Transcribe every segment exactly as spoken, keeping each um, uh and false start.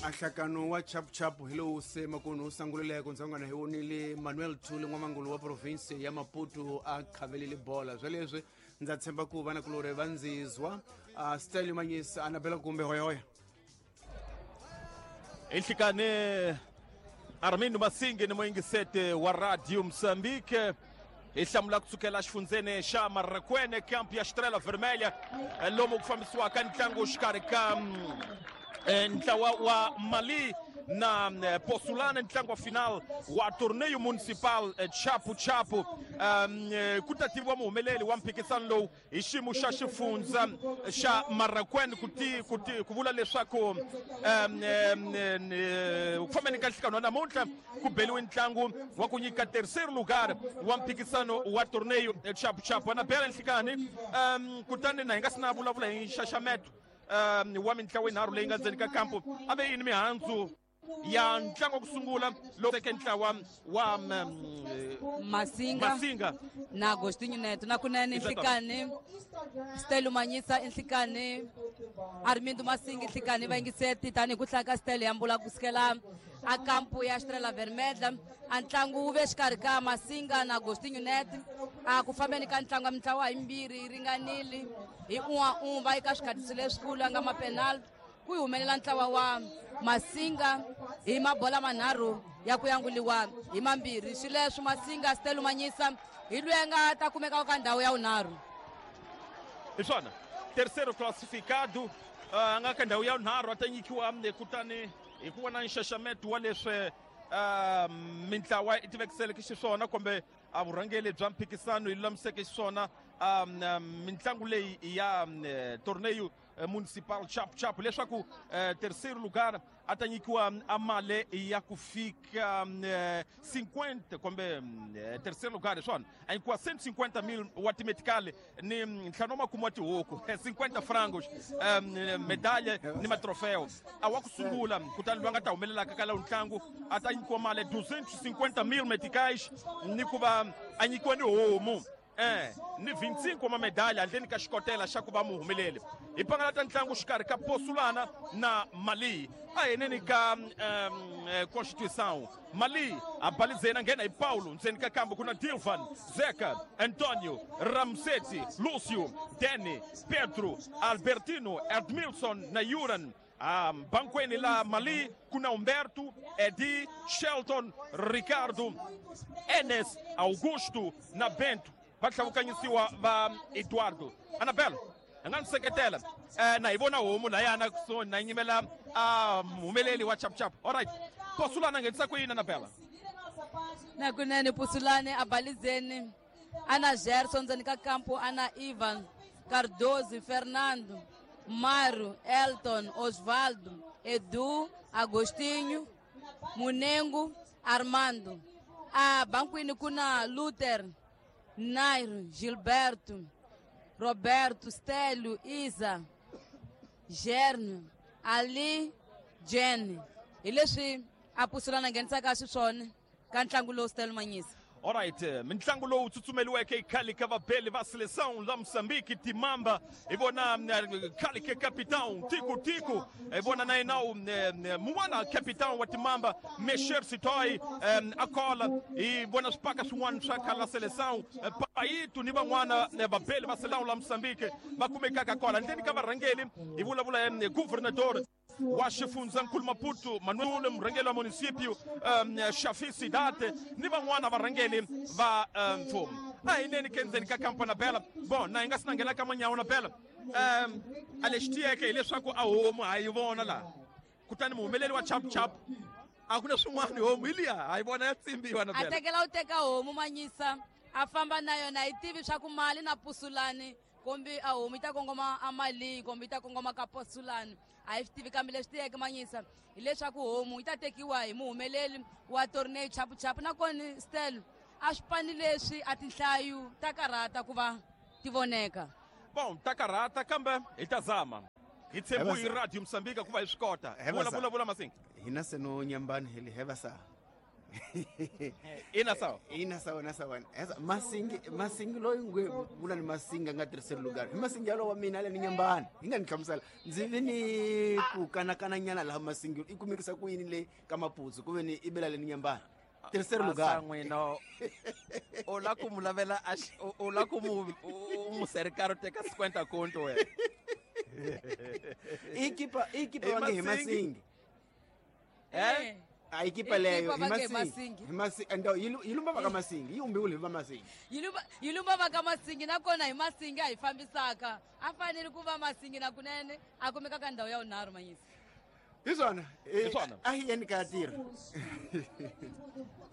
Ahlakano wa chapuchapu hi lowu se makuno wu sanguleleko ndzangwana hi vonile Manuel Thule n'wamangulu wa province ya Maputo a khavelele bola sweleswi ndza tshemba ku vanakulorhi va ndzizwa uh, Stanley Manyisa Anabela kumbe hoyahoya Inhlikane Armindo Masinge ni muyingisete wa Radio Mozambique hi hlamula kusukela xifundzeni xa Marracuene camp ya Estrela Vermelha lomu ku fambisiwaka ntlangu xikarhi ka ntlawa wa Mali na Posulana ntlangu wa final wa torneio municipal chapu chapu um, ku ta tiviwa muhumeleli wa mphikisano lowu hi xiyimo xa xifundza xa Marracuene ku ti ku ti ku vula leswaku um, ku fambeni ka nhlekano wa namuntlha ku beliwe ntlangu wa ku nyika terceiro lugar wa mphikisano wa torneio chapu chapu Anabela Nhlikani um, kutani na hi nga si na vulavula hi nxaxameto um, wa mintlawa yinharhu leyi nga ndzeni ka kampo a ve yini mihandzu ya ntlangu wa ku sungula lowu teke ntlawa wa Masinga Masinga na Agostinho Neto na kunene Nhlikani Stelo Manyisa Nhlikani Armindo Masinga Nhlikani vayingiseti tanihi ku hlaya ka Stelo ya mbula kusukela a kampu ya Estrela Vermelha a ntlangu wu ve xikarhi ka Masinga na Agostinho Neto a ku fambeni ka ntlangu ya mintlawa yimbirhi yi ringanile hi un'wa un'we va eka swikhatisi leswikulu a nga mapenalty ku yi humelela ntlawa wa Masinga hi mabola manharhu ya ku yanguliwa hi mambirhi swileswo Masinga Stelo Manyisa hi loyi a nga ta kumeka ka ndhawu ya vunharhu hi swona terceiro classificado a nga ka ndhawu ya vunharhu a ta nyikiwa kutani hi ku vona nxaxameto wa leswi mintlawa yi tivekiseleke xiswona kumbe a vurhangeli bya mphikisano yi lulamiseke xiswona mintlangu leyi ya torneio municipal chapu chapu leswaku terceiro lugar a ta nyikiwa a mali ya ku fika cinquenta kumbe terceiro lugar hi swona a nyikiwa cento e cinquenta mil wa timetikali ni ntlhanu wa makume wa tihuku cinquenta frangos medalha ni matrofeo a wa ku sungula kutani loyi a nga ta humelelaka ka lowu ntlangu a ta nyikiwa mali duzentos e cinquenta mil meticais ni ku va a nyikiwa ni homu eh ni vinte e cinco wa medalha handleni ka xikotela xa ku va muhumeleli hi pangalata ntlangu xikarhi ka Posulana na Mali a heneni ka um, Constituição Mali a balizena nghena hi Paulo ndzeni ka kambu ku na Dilvan Zeca Antonio Ramseti Lucio Deni Pedro Albertino Edmilson na Yuran Um, bankweni la Mali kuna Humberto Edi Shelton Ricardo Enes Augusto na Bento va tlhavukanyisiwa va Eduardo Anabela a nga ni seketela eh, na hi vona homu layana kusuhi na nyimela a muhumeleli wa chapuchapu alright Posulana nghenisa ku yini Anabela na kunene Posulane a balizeni ana Gerson ndzeni ka kampo ana Ivan Cardoso Fernando Mário, Elton, Osvaldo, Edu, Agostinho, Munengo, Armando. A banquini kuna Luther, Nairo, Gilberto, Roberto, Stélio, Isa, Gerno, Ali, Jenny. Hi leswi a Posulana nghenisaka xiswona ka ntlangu lowu Stelo Manyisa. Alright, mintlangu lowu tsutsumeliweke khale ka vabeli va seleção la Moçambique Timamba hi vona khale ka capitão Tico Tico hi vona na yena mun'wana capitão wa Timamba Mesher Sitoy a kola hi vona swipaka swin'wana swa khale la seleção Paito ni van'wana vabeli va seleção la Moçambique va kumekaka kola ndleni ka varhangeli hi vulavula governador wa xifundzankulu Maputo Manuel murhangeri wa municipio um, Shafi Sidate ni van'wana varhangeli va mfumo a hi neni ke ndzeni ka kampo na Bela bon na hi nga si na nghena ka manyawo na Bela um, a lexi tiyeke hileswaku a homu ha yi vona laha kutani muhumeleli wa chapuchapu a ku na swin'wana homu hi liya ha yi vona ya tsimbiwa na A tekela u teka homu Manyisa a famba na yona hi tivi swa ku mali na Posulani kombi a homu yi ta kongoma a Mali kombi yi ta kongoma ka Posulani a hi swi tivi kambe leswi tiyeke Manyisa hileswaku homu yi ta tekiwa hi muhumeleli wa torneio chapuchapu nakona Stelo a swipani leswi a tinhlayo ta karhata ku va ti voneka bon ta karhata kambe hi ta zama hi tshembu hi Radio Mozambique ku va hi swi kota vula vula vula Masinga hina se no nyambani hi li heva sa Ina sawa. Ina sawa na sawa. Esa masingi masingi loyi ngwe vula ni masingi a nga terceiro lugar. Hi masingi yalowo wa mina le ni nyambani. Hi nga ni hlamusela. Ndzi vi ni ku kanakana nyana laha masingi i kumekisa ku yini le ka Maputsu ku ve ni i bela le ni nyambani. Terceiro lugar. N'wina u la ku mu lavela a u la ku mu mu serikaro teka cinquenta conto wena. Ikipa ikipa wange hi masingi. Eh? A equipa leyo hi masingi. Hi masingi and yi lumba va ka masingi, yi umbiwile hi va masingi. Yi lumba yi lumba va ka masingi nakona hi masingi a hi fambisaka. A fanele ku va masingi na kunene a kumeka ka ndhawu ya vunharhu manyisi. Hi swona. Hi swona. A hi yeni ka tirha.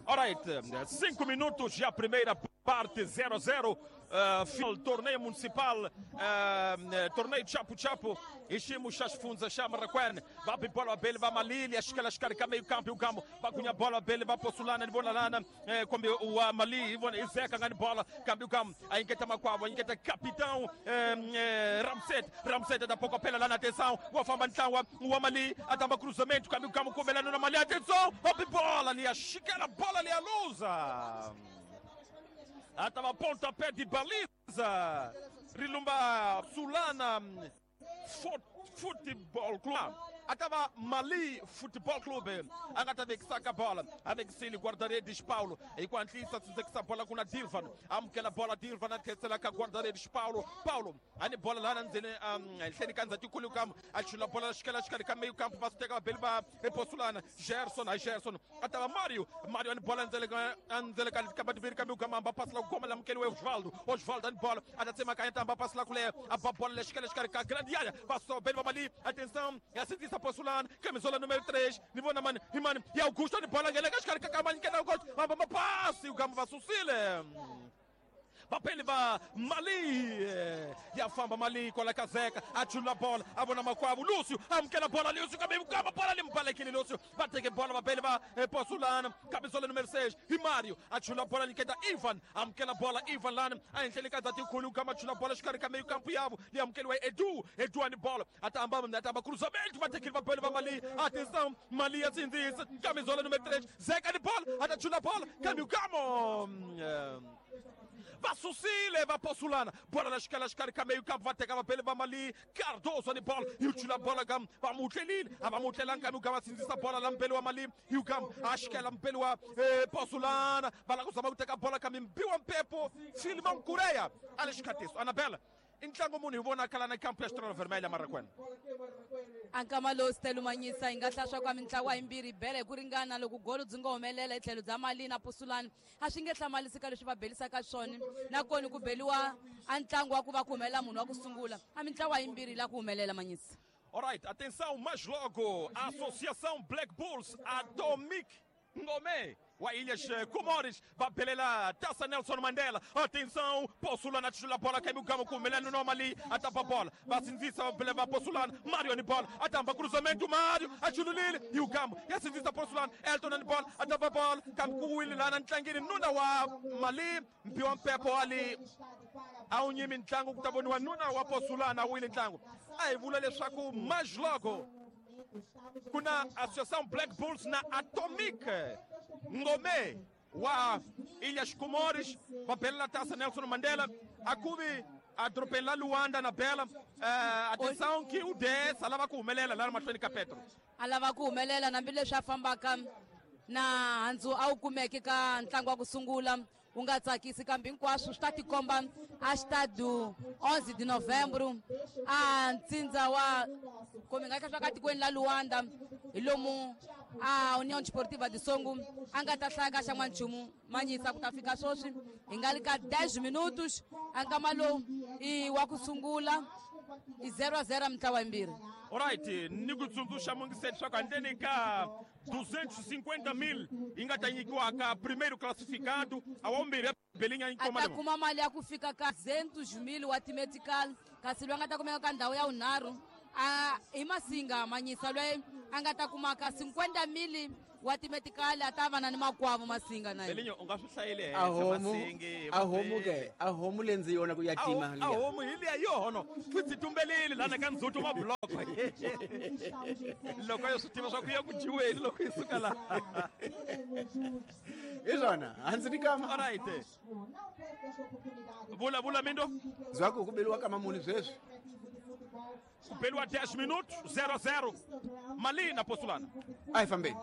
All right, cinco minutos já a primeira parte, zero a zero. Uh, final torneio municipal, uh, torneio Chapo Chapo, enchemos as fundas, chama Raquel, vai bola bele, vai Malili, acho que ela escarca meio campo, o campo, vai cunha bola bele, vai Possulana, bona lana, como o Mali, e Zeca ganha bola, câmbio campo, a inquieta Macuava, inquieta capitão, eh, Ramset, Ramset da pouco pela lá na atenção, o Afamantão, o Mali, a tamba cruzamento, câmbio campo, com Belano na Mali, atenção, a bola ali, a chiqueira, bola ali, a lusa. Atava pontapé de baliza. Rilumba Sulana Futebol Clube. Atava Mali Futebol Clube. Agata vexaka bola. Avexili guarda-redes Paulo. Enquanto isso, a bola com a Dilvan. Amkela bola Dilvan, a terceira com guarda-redes Paulo. Paulo, a bola lá na Zene, kanza tikulu kam. A bola escala escala meio campo, passa tega belba e Possulana. Gerson, a Gerson. Atava Mário. Mário a bola anzele anzele acaba de vir caminho camamba passa lá como lá mkele Osvaldo. Osvaldo a bola. A tsema caenta passa lá com a bola escala escala grande área. Passou belba Mali. Atenção, é assim Possulana, camisola número três, Nivona Mani, Imani, e Augusto de bola, ele casca, Camani, que não gosta, mas passe, o Gamba Sucile. Papel va Mali, e a famba Mali, com a caseca, atira a bola, a bona Macuabo, Lúcio, amquela bola, Lúcio, caminho, cama, bola, limpa aquele Lúcio, bate que bola, papel va Possulana, camisola número seis, e Mário, atira a bola, liqueta Ivan, amquela bola, Ivan lá, a Angélica da Ticulu, cama, atira a bola, escarca meio campo, e avo, e amquele Edu, Edu ani bola, atamba, atamba, cruzamento, bate aquele papel va Mali, atenção, Mali, assim diz, camisola número três, Zeca de bola, atira a bola, caminho, camo. Va Sucile, va Possulana, bola na escala, escarca meio campo, vai pegar pele, va Mali, Cardoso de bola, e o tira a bola, gam, va Mutelin, va Mutelan, caminho, gam, assim, essa bola, lampelo, Mali, e o gam, acho que ela lampelo, Possulana, vai lá com o pega a bola, caminho, Biwan Pepo, Filmão Cureia, Alex Catesso, Anabela, ntlangu munhu hi vonakala na kampu ya Estrela Vermelha Marakwena. Ankama lowu Stelu Manyisa hi nga hlaya swa mintlawa yimbirhi bele hi ku ringana loko golo byi nga humelela hi tlhelo bya Mali na Possulana a swi nge hlamarisi ka leswi va belisaka swona nakona ku beliwa a ntlangu wa ku va ku humelela munhu wa ku sungula a mintlawa yimbirhi la ku humelela Manyisa. Alright, atenção, mais logo, a Associação Black Bulls Atomic Ngome wa Ilhas Comores, vai pelela Taça Nelson Mandela. Atenção, Possulana tira a bola, caiu o gamo com Melano Normali, atapa a bola, vai sinzisa, vai Possulana, Mário de bola, atapa cruzamento, Mário, atira e o gamo, e a sinzisa Possulana, Elton de bola, atapa a bola, campo Willi lá na Ntlangini, nuna wa Mali, mpiwa mpepo ali, aunyimi Ntlangu, kutaboniwa nuna wa Possulana, Willi Ntlangu. Aí, vula leswaku mais logo, kuna Associação Black Bulls na Atomic Ngome wa Ilhas Comores, papel na Taça Nelson Mandela, a Cubi atropela Luanda na Bela. Uh, atenção que o dez alava ku humelela la mahlweni ka Petro. Alava ku humelela hambileswi a fambaka na handzu a wu kumeke ka ntlangu wa ku sungula wu nga tsakisi kambe hinkwaswo swi ta tikomba a xitadu onze de novembro a ntsindza wa kumbe nga swa ka tikweni la Luanda hi lomu a União Desportiva de Songo a nga ta hlaya ka xa n'wanchumu Manyisa ku ta fika sweswi hi nga li ka dez minutos a nkama lowu i wa ku sungula i zero a zero mintlawa yimbirhi. Alright, ni ku tsundzuxa mungiseti swa ku handleni ka duzentos e cinquenta mil yi nga ta nyikiwa ka primeiro classificado a wa vumbirhi ya belinga yi a ta kuma mali ya ku fika ka duzentos mil wa timetical kasi loyi a nga ta kumeka ka ndhawu ya vunharhu a hi Masinga Manyisa loyi a nga ta kuma ka cinquenta mil wa timetikali a ta va na ni makwavo Masinga na yena. U nga swi hlayile A homu a homu ke a homu le ndzi yona ku ya tima a homu hi liya yono futhi tumbelile lana ka ndzhuti wa block loko yo swi tiva swa ku ya ku dyiweni loko yi suka laha hi swona hansi ni kama. Alright, vula vula Mindo zwaku ku beliwa kama muni sweswi ku beliwa dez minutos zero zero Mali na Poçolana. A hi fambeni.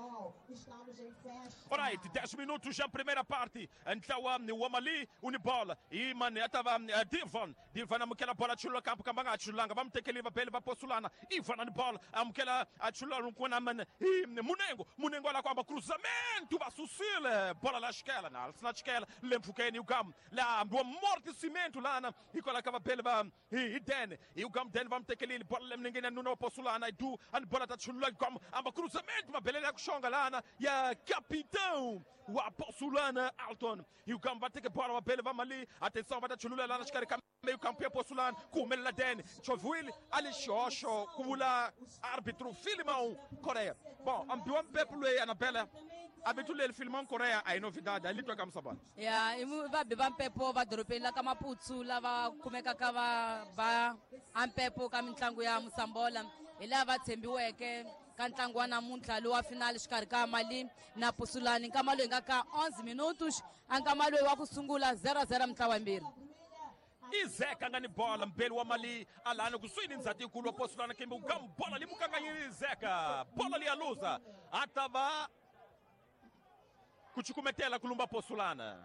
Alright, dez minutos já primeira parte. Ntlawa wa Mali unibola. E mane atava Divan. Divan amukela bola chulula kampo kambanga achulanga vamtekeli vapele va Poçolana. Ivan ani bola amukela achulula nkona mane. E Munengo, Munengo la kwamba cruzamento va susile. Bola la esquela na na esquela lemfukeni ugam. La do amortecimento lá na e coloca vapele va e Den. E ugam Den vamtekeli bola lemningene nuno Poçolana e du an bola ta chulula gam amba cruzamento mabele la kushonga lana ya capitão wa Poçolana Alton. E o Gamba tem que bola uma bela vamos ali. Atenção, vai dar chulula lá nas caras meio campo ya Poçolana com o Den. Chovuil ali xoxo kula árbitro Filimão Coreia. Bom, ambiwa mpepo le Anabela. Abetulele Filimão Coreia aí novidade ali toka msabana. Ya, imu va be va mpepo va dorobeni la ka Maputo lava kumekaka va va ampepo ka mintlangu ya Mosambola hi lava tshembiweke ka ntlangu wa namuntlha lowu wa finale xikarhi ka Mali na Poçolana. Nkama loyi nga ka onze minutos a nkama loyi wa ku sungula zero zero mintlawa yimbirhi. Izeka nga ni bola mbeli wa Mali alana kusuhi ni ndzati yikulu wa Poçolana kembe ugam bola limukanganyile Izeka bola liyaluza atava kuchikumetela kulumba Poçolana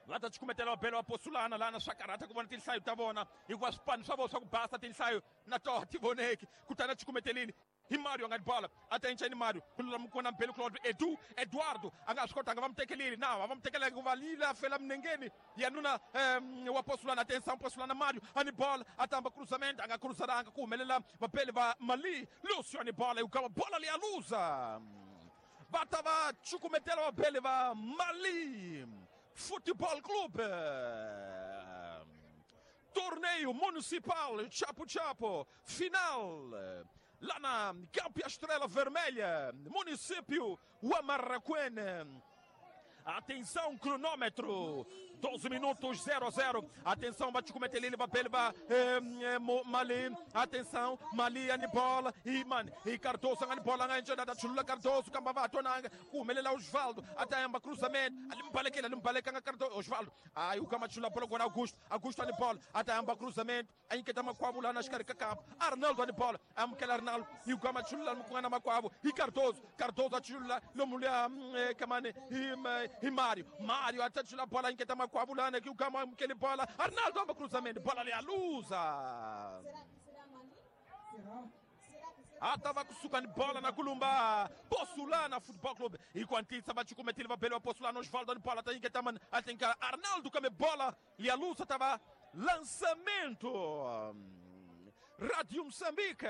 va ta chikumetela vabele wa Poçolana lana swa karhata ku vona tinhlayo ta vona hikuva swipano swa vona swa ku basa tinhlayo na toho ti voneki kutani a chikumetelile hi Mario nga ni bola a ta enca ni Mario kulula mukona mbele Claude Edu Eduardo a nga swi kotanga va mu tekelile na va mu tekelanga ku va lila fela minengeni ya nuna um, wa Poçolana atenção Poçolana Mario a ni bola a tamba cruzamento a nga cruzaranga ku humelela vabele va Mali Lúcio a ni bola e ukama bola liyaluza va ta va chukumetela vabele va Mali Futebol Clube. Torneio Municipal Chapo Chapo final lá na Campo Estrela Vermelha, município Huamarraquene. Atenção, cronômetro, doze minutos, zero a zero. Atenção, bate com o papel, Mali. Atenção, Mali, Anibola, e man, e Cardoso, Anibola, da Chulula Cardoso, Cambavato, Kumelela Osvaldo, até amba cruzamento, ali Limbaleka, Cardoso, Osvaldo. Aí o Camachula, bola com Augusto, Augusto Anibola, até amba cruzamento, aí que tá Macuabo lá nas caricacap, Arnaldo Anibola, Amkel Arnaldo, e o Camachula, Mucana Macuabo, e Cardoso, Cardoso, Chulula, Lomulha, Camane, e E Mário, Mário até a bola em que tá Macuabulana, que o Gama que ele bola, Arnaldo amba cruzamento, bola ali a luza. Ah, tava com bola na Columba, Poçolana Futebol Clube. E quando bate com o papel, Poçolana Osvaldo bola, tem que tá man, tem que Arnaldo come bola, e a luza tava lançamento. Rádio Moçambique,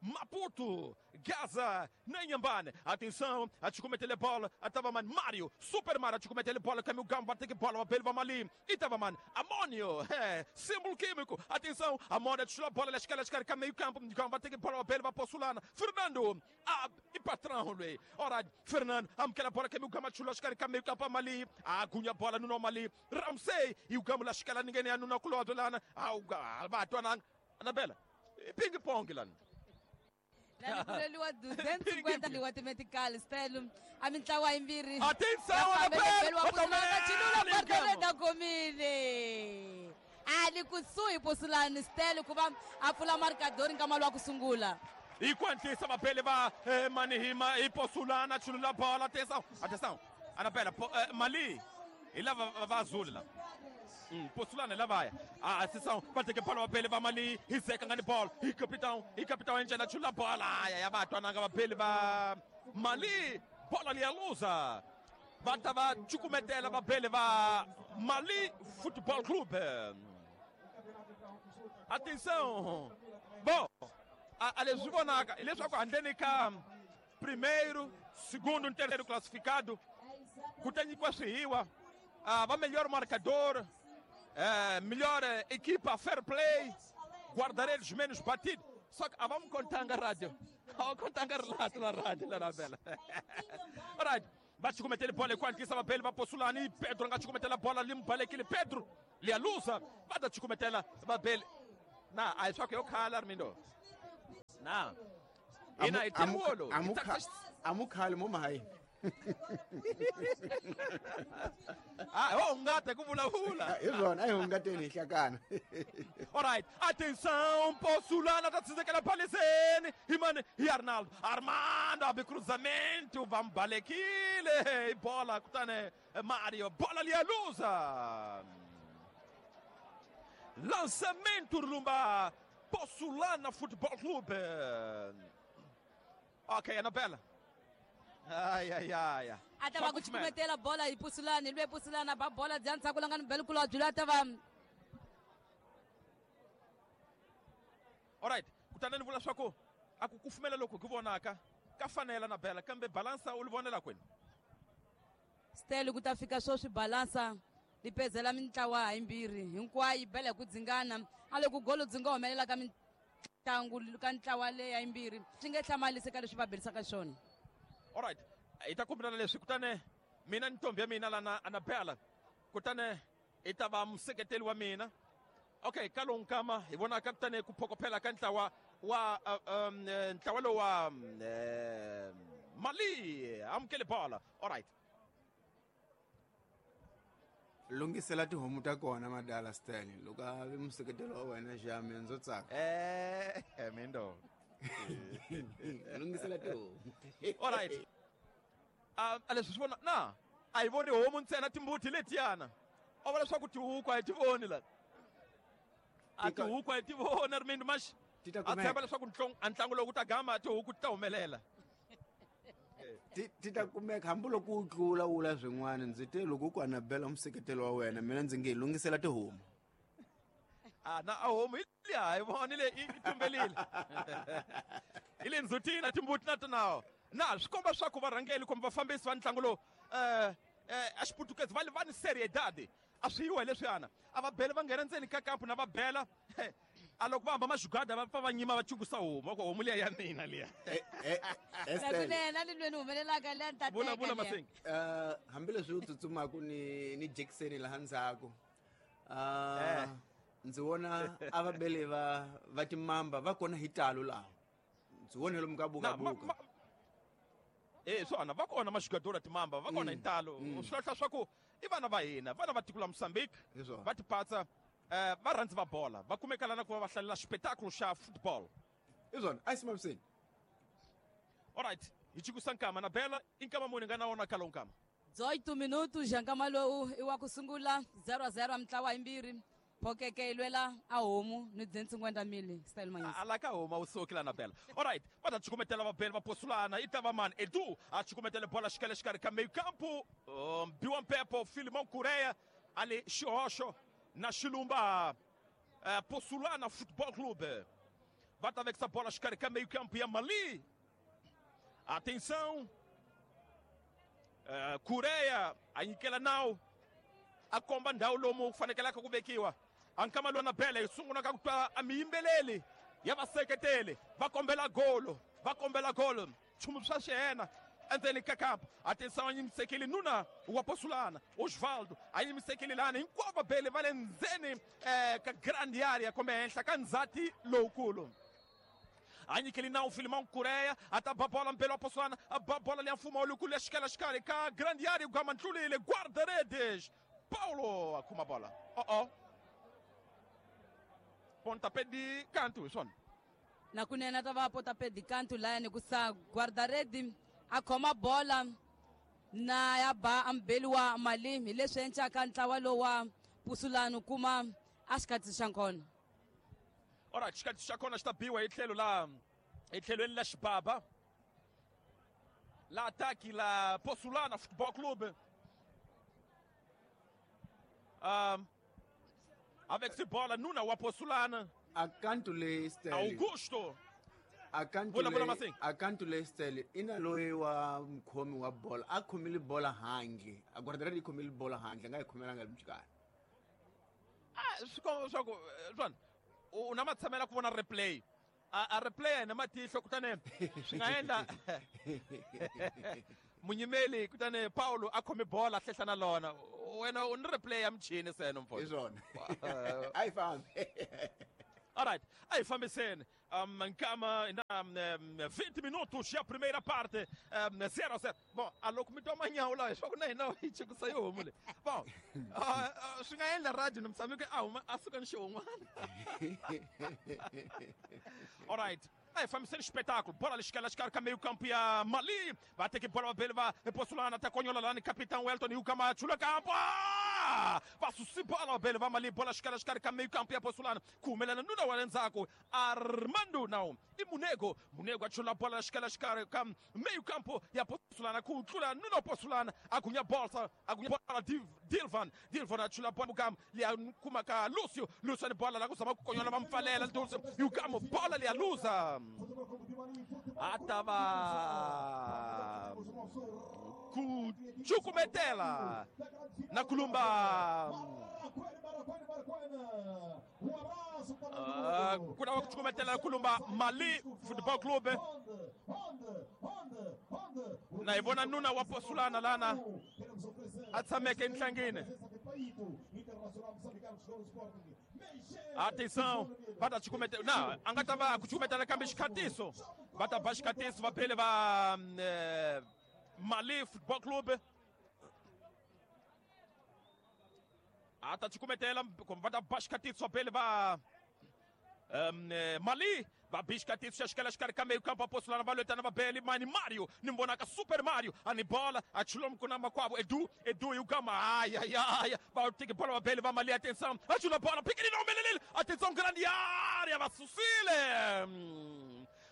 Maputo, Gaza, Nanhambane. Atenção, a te cometer a bola, a tava man Mário, Super Mário, a te cometer a bola, Camil Gamba, tem que bola, o vai ali. E tava man Amônio, é, símbolo químico. Atenção, Amônio, a bola, a escala, escala, meio campo, Gamba, tem que bola, o vai Poçolana. Fernando, a, e patrão, lui. Ora, Fernando, amquela bola, Camil Gamba, chula, escala, meio campo, ali. A agunha bola no nome ali. Ramsey, e o Gamba, escala, ninguém é no noculodo lá, ah, o Bato, Anabela, ping-pong lá. Lalikuleliwa duzentos e cinquenta liwa timetikali stelo a mintlawa yimbirhi. Atenção, Anabela, Chilula komile. Ali kusuhi Poçolana stelo ku va a pfula marcador nkama lowa ku sungula. E quanto isso mabele va manihima e Poçolana chilula bola, atenção, atenção. Anabela, Mali, e lá va azul lá. Hum, Poçolana lá vai. A atenção, vai ter que bola mabele va Mali, e seca ngani bola, e capitão, e capitão entra na chula bola. Ai ai vai twananga mabele va Mali, bola ali a luza. Vai tava chukumetela mabele va Mali Futebol Clube. Atenção. Bom, a leswi vonaka hileswaku handleni ka primeiro, segundo e terceiro classificado ku ta nyikiwa swihiwa va melhor marcador, eh, melhor equipa fair play, guarda-redes menos batido. Só que a vamos contanga rádio. A wu kontanga rilato la rhandi la Nabela. Alright, va cukumetele bola hi ku hatlisa vabeli va Posulani. Pedro a nga cukumetela bola li balekile Pedro liya luza va ta cukumetela vabeli. Na a hi swa ku yo khala Armindo. Na ina hi tirholo. Amukhali mo mahayi. Ah, ho hungata ku vulavula. Hi swona, a hi hungateni hi hlakana. Alright, atenção, Posulana tá tsindzekela paliseni. Hi mani hi Arnaldo. Armando abe cruzamento, va mbalekile bola kutani Mario, bola liya luza. Lançamento lumba Posulana Futebol Clube. Ok, Anabela. Ai, ai, ai. A ta va ku cukumetela bola hi Posulana, lwe Posulana ba bola bya ndzhaku la nga ni belukulu byi ta va. Alright, kutani ni vula swa ku a ku kufumela loko ku vonaka ka fanela na bela kambe balansa u li vonela kwini? Stele ku ta fika sweswi balansa li pezela mintlawa yimbirhi hinkwayo yi bela hi ku dzingana a loko golo dzi nga humelela ka mitlangu ka ntlawa leya yimbirhi swi nge hlamalisi ka leswi va belisaka swona. Alright, hi ta kombelana leswi kutani mina ni ntombi ya mina lana Anabela kutani i ta va museketeli wa mina. Okay, ka lowu nkama hi vonaka kutani ku phokophela ka ntlawa wa um, ntlawa lowu wa Mali amukele bola. Alright, lunghisela tihomu ta kona madala Stanley loko a vi museketelo wa wena xame ndzo tsaka. Eh, mindo. Lunghisela tihomu. Alright. Um, a leswi swi vona na a hi voni homu ntsena timbuti letiyana. A vula leswaku tihuku a hi ti voni la. A tihuku a hi ti voni Armindo Max. A tshemba leswaku a ntlangu lowu ku ta gama tihuku ti ta humelela. Ti ti ta kumeka hambiloko u tlula wula swin'wana ndzi te loko ku Anabela museketelo wa wena mina ndzi nge lunghisela tihomu. Ah, na a homu hi liya hi vonile i tumbelile. Hi le ndzhutini na timbuti na tona. Na swi komba swa ku varhangeli kumbe vafambisi va ntlangu lowu eh a xiputukezi va va ni seriedade. A swi yiwa hi leswiyana. A va bela va nghena ndzeni ka kampu na va bela. A loko va hamba maxugada va pfa va nyima va chukusa homu va ku homu liya ya mina liya. Nakunene ni lweni humelelaka liya ni ta Vula vula Masingi. Eh hambileswi u tsutsumaku ni ni Jackson laha ndzhaku. Ah ndzi vona a va bele va va timamba va kona hi talo laha. Ndzi vone lomu ka buka buka. Eh swona va kona maxugadora timamba va kona hi talo. Swi hlahla swa ku i vana va hina vana va tiko la Mozambique va tipatsa eh va rhandzi va bola va kumeka lana ku va va hlalela xipetakulu xa football. Hi swona a simamiseni. Alright, hi chikusa nkama na bela i nkama muni nga na wona ka lowu nkama. dezoito minutos ja nkama lowu i wa ku sungula zero a zero mintlawa yimbirhi. Phokeke yi lwela a homu ni dze mili style manyisa. A la ka homu a wu suki la Nabela. Alright, va ta cukumetela vabeli va Posulana i ta va mani Edu a cukumetele bola xikele xikarhi ka meio campo. Um, Biwa Mpepo Filimão Coreia ali xihoxo na xilumba uh, Posulana Futebol Clube. Va ta vekisa bola xikarhi ka meio campo ya Mali. Atenção. Uh, Coreia a nyikela nawu a komba ndhawu lomu ku fanekelaka ku vekiwa. A nkama lowu Nabela hi sungula ka ku twa a miyimbeleli ya vaseketeli va kombela golo va kombela golo nchumu swa xiyena endzeni ka kampa. Atenção a yimisekile nuna wa Posulana Osvaldo a yimisekile lani hinkwavo vabeli va le ndzeni eh, ka grande area kumbe henhla ka ndzhati lowukulu. A nyikeli nawu Filimão Coreia a ta ba bola mbele wa Posulana a ba bola liya mfumo lowukulu ya xikela xikarhi ka grande area gama ntlulile guarda-redes Paulo a khoma bola. Oh oh. Pontapé de canto, swona. Nakunene ta va pontapé de canto layani ku sa guarda-rede a khoma bola na ya ba ambeli wa Mali hi leswi encaka ntlawa lowu wa Posulana kuma a xikatsi xa kona. Alright, xikatsi xa kona xi ta biwa hi tlhelo la hi tlhelweni la xibaba. La ataque la Posulana Futebol Clube. Um, avec ce bola nuna wa Posulana akantu le Stanley Augusto akantu le akantu le Stanley ina loyi wa mukhomi wa bola a khomile bola handle a guarda-redes khomile bola handle nga yi khomelanga limchikana. Ah swi komba swa ku swona u na matshamela ku vona replay A replay na matihlo kutani swi nga endla munyimeli kutani Paulo a khome bola a hlehla na lona wena u ni replay ya michini seno mfo hi swona a yi fambi. All right, aí fambiseni um, nkama na um, vinte minutos ya primeira parte, um, zero a zero. Bom, a loko mi twa manyawu lawa leswaku na hina hi chikusa yo homu leyi. Bom, uh, uh, swi nga endla radio ni mutshami a huma a suka ni xihun'wana. All right. Aí fambiseni espetáculo. Bola lixikela xikarhi ka meio campo ya Mali. Va teki bola vabeli va Posulana ta konyola lani capitão Elton Yukama chula campo. Ah! Va susi bola vabeli va Mali. Bola xikarhi xikarhi ka meio campo ya Posulana. Ku humelela nuna wa le ndzhaku Armando now i Munego. Munego a chula bola xikarhi xikarhi ka meio campo ya Posulana ku tlula nuna Posulana a gunya bolsa a gunya bola Dilvan. Dilvan a chula bola Mugam liya kuma ka Lucio. Lucio ni bola la ku zama ku konyola va mpfalela Lucio Yukama bola liya luza. Atava ku chukumetela na kulumba uh, kuna wa kuchukumetela na kulumba Mali Football Club na ibona nuna wa Posulana lana atsameke enhlangene. Atenção, bata chukumetela na angata va kuchukumetela kambe xikhatiso bata ba xikhatiso va phele va eh, Mali Football Club ata chukumetela kumbe va ta ba xikhatiso va phele va um, eh, Mali va bi xikhatiso xa xikela xikarhi ka meio campo a Posulana va lwetana va beli mani Mario ni vonaka Super Mario ani bola a chula mkuna makwavo Edu Edu Yukama ai ai ai va tiki bola va beli va Mali atenção a chula bola pequenino melelele atenção grande área va susile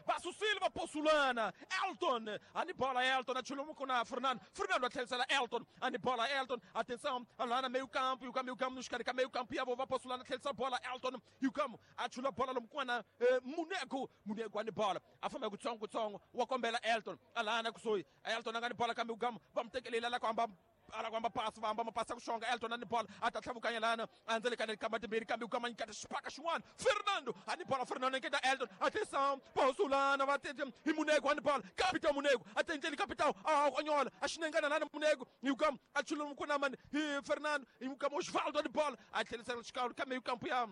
va Silva Posulana Elton ani bola Elton achula com Fernando Fernando atleta Elton ani bola Elton atenção lá na meio campo e o meio campo nos caras meio campo e a vovó Posulana atleta bola Elton e o campo achula bola lomkwana Munego Munego ani bola afamba kutsongo kutsongo wakombela Elton alana kusoi Elton angani bola kambe o campo vamos ter que ele lá com a ala kwamba passa vamba mapasa kushonga Elton ani bola atatlhavukanya lana andzele kana kamba timbirhi kambe ukama nyikata xipaka xin'wana Fernando ani bola Fernando nketa Elton atenção Posulana va tete hi Munego ani bola capitão Munego atendele capitão a onyola a xinengana lana Munego hi ukam a chulumu kuna mani hi Fernando hi ukam Osvaldo ani bola a tlhelisela xikalo ka meio campo ya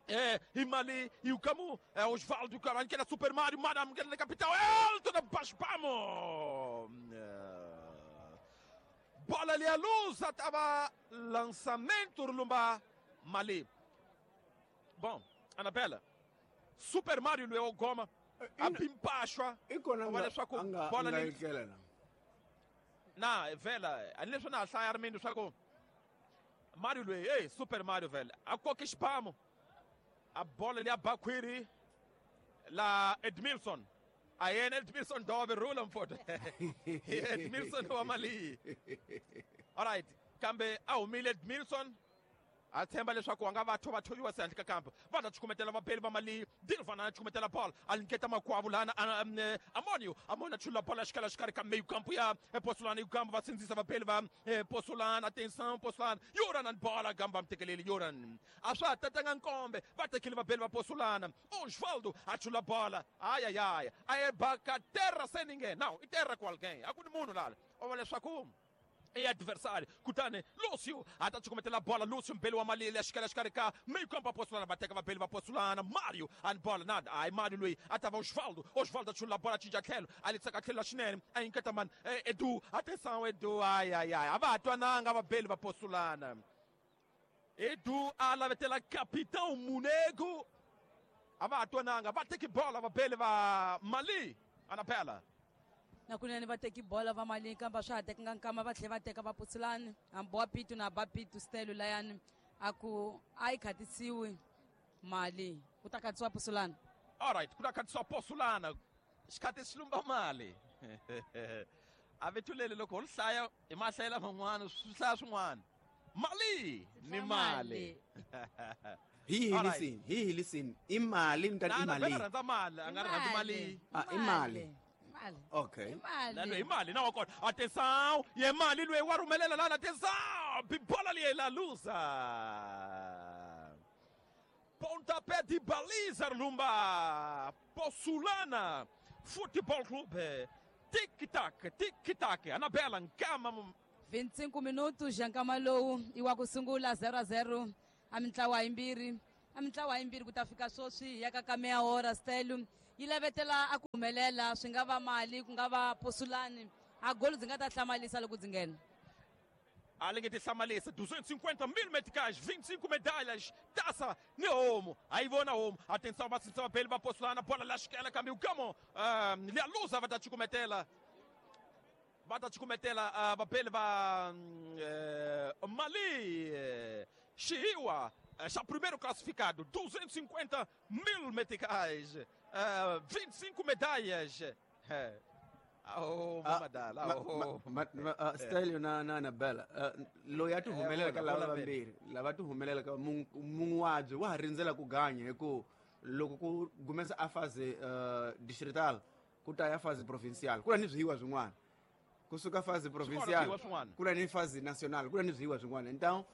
é, e Mali, e o Camu, é Osvaldo, o que era Super Mario, Madame, que era capital, Elton, abaixo, vamos! Bola ali a luz, estava lançamento Lumba Mali. Bom, Anabela, Super Mario Leo Goma, a pimpachwa, olha só com bola ali. Na, vela, ali só na sai Armindo só com Mario Leo, ei, Super Mario velho, a qualquer spamo. A bola ali a Baquiri, lá Edmilson. Aí Edmilson dove rula mfoto. Edmilson wa Mali. All right, kambe a humile Edmilson. A tshemba leswaku a nga va thova thoviwa se handle ka kampo va ta chukumetela vapeli va Mali Dilvana a chukumetela bola a nyiketa makwavu lana Amonio Amonio a chula bola xikala xikarhi ka meio campo ya Posulana e o campo va sindzisa vapeli va Posulana atenção Posulana Yoran and bola gamba mtekeleli Yoran a swa tatanga nkombe va tekile vapeli va Posulana Osvaldo a chula bola ai ai ai a baka terra sem ninguém não e terra com alguém a ku ni munhu lala o va leswaku e adversário kutani Lúcio ata chukumetela bola Lúcio mbele wa Mali xikela xikarhi ka meio campo a Posulana va teka vapeli va Posulana Mario ani bola nada ai Mario loyi a ta va Osvaldo Osvaldo a chula bola cinca tlhelo a litsaka tlhelo la xinene a yinketa mani Edu atenção Edu ai ai ai a va ha twananga vapeli va Posulana Edu a lavetela capitão Munego a va ha twananga va teki bola vapeli va Mali Anapela na kunene va teki bola va Mali kambe swa ha tekanga nkama va tlhela va teka va Posulana hambi wa Pitu na ba Pitu Stelo layani a ku a yi khatisiwi Mali ku ta khatisiwa Posulana. All right, ku ta khatisiwa Posulana xikhati xi lumba mali a vetulele loko ho hlaya hi mahlayela man'wana swi hlaya swin'wana Mali ni mali hi hi listen hi hi listen i mali ni ta i mali rhandza mali a nga rhandzi mali ah i mali Okay. Lalo imali na wakona. Atenção, e mali lwe warumelela lana atenção. Bibola li la luza. Ponto Pontapé de baliza, Lumba. Possulana Futebol Clube. Tic-tac, tic-tac. Anabela Nkama. vinte e cinco minutos, Nkama lowu iwa kusungula zero a zero. A mintlawa yimbirhi. A mintlawa yimbirhi ku ta fika sweswi ya ka ka meia hora Stelu. Yi lavetela a ku humelela swi nga va mali ku nga va Posulani. A golo dzi nga ta hlamalisa loko dzi nghena. Além de hlamalisa, duzentos e cinquenta mil meticais, vinte e cinco medalhas, taça Neomo. Aí vou na Omo. Atenção, atenção, Bele vai Possulana, bola lá, esquela, caminho, camo. Lia Lusa vai dar te cometela. Vai dar te cometela, Bele vai Mali. Chiua, já primeiro classificado, duzentos e cinquenta mil meticais, vinte e cinco medalhas. Oh, madala, oh. Stélio na na Anabela, loyi a ti humelela ka lava vambirhi, lava ti humelela ka mun'waji wa ha rindzela ku ganya hi ku loko ku gumesa a phase distrital ku ta ya phase provincial, ku na ni swihiwa swin'wana. Kusuka phase provincial ku na ni phase national, ku na ni swihiwa swin'wana. Então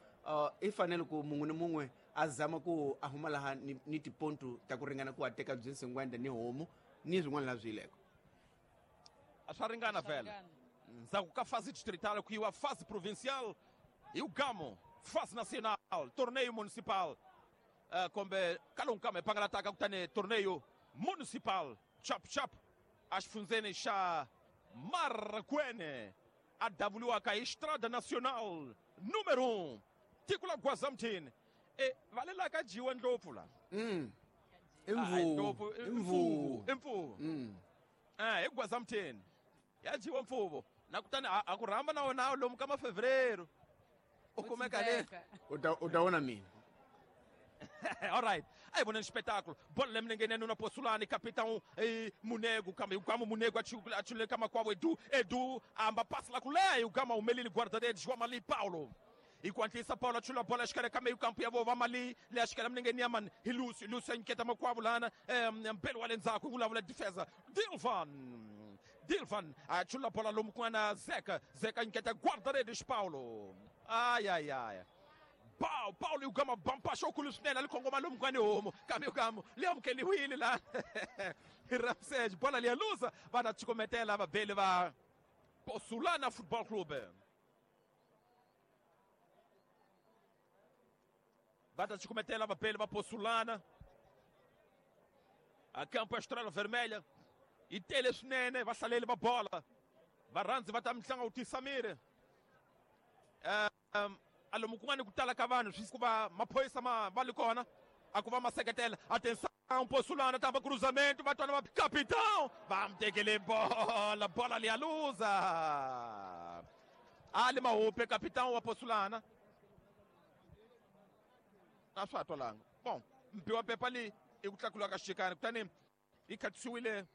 i fanele ku mun'we ni mun'we a zama ku a huma laha ni, ni tipontu ta ku ringana ku a teka byi cinquenta ni homu ni swin'wana la swi yileko. A swa ringana vhele. Ndzhaku ka fase distrital ku yiwa fase provincial hi Gamo, fase nacional, torneio municipal. Uh, kombe kalungu kame pangalataka kutani torneio municipal. Chap chap axifundzeni xa Marracuene a davuliwaka hi Estrada Nacional número um. Tiko la Gwazamthini. E valela ka dyiwa ndlopfu la. Mm. Imvubu, imvubu, imvubu. Mm. Ah, hi Gwazamthini. Ya dyiwa mpfuvo. Na kutani a ku rhamba na wona lomu ka mafevereiro. U kumeka le. U ta u ta vona mina. All right. Aí vona espetáculo. Bola lemlengene nuna Possulani, capitão e Munego, kama o Munego achule kama kwa Edu, Edu amba passa lá com Lé, o Gama o Melili guarda-redes, João Mali Paulo. Enquanto isso, Paulo achula bola, acho que meio campo, e vou Mali, le acho que ela ninguém man, e Lúcio, Lúcio inquieta makwavo lana, Belo Alenzaco, o defesa, Dilvan. Dilvan, achula bola lomu com a Zeca, Zeca inquieta guarda-redes Paulo. Ai ai ai. Pau, Paulo e o Gama bampachou com o Lucinela, ali com o maluco com o caminho gamo, lembro que ele Willi lá. Ramsés, bola ali a lusa, vai dar te cometer lá, vai Bele vai Possulana Futebol Clube. Vai dar te cometer lá, vai Bele vai Possulana. A campo a Estrela Vermelha. E Teles Nene, vai sair ele vai bola. Vai Ranzi, vai estar me chamando o Samir. Alomu kun'wana ku tala ka vanhu swi ku va maphorisa ma va li kona a ku va ma seketela. Atenção Possulana tava cruzamento va twana va capitão va mu tekele bola bola liya luza ali mahupe capitão wa Possulana a swa ha twalanga. Bon mpi wa pepa leyi i ku tlakula ka xikani kutani yi khatisiwile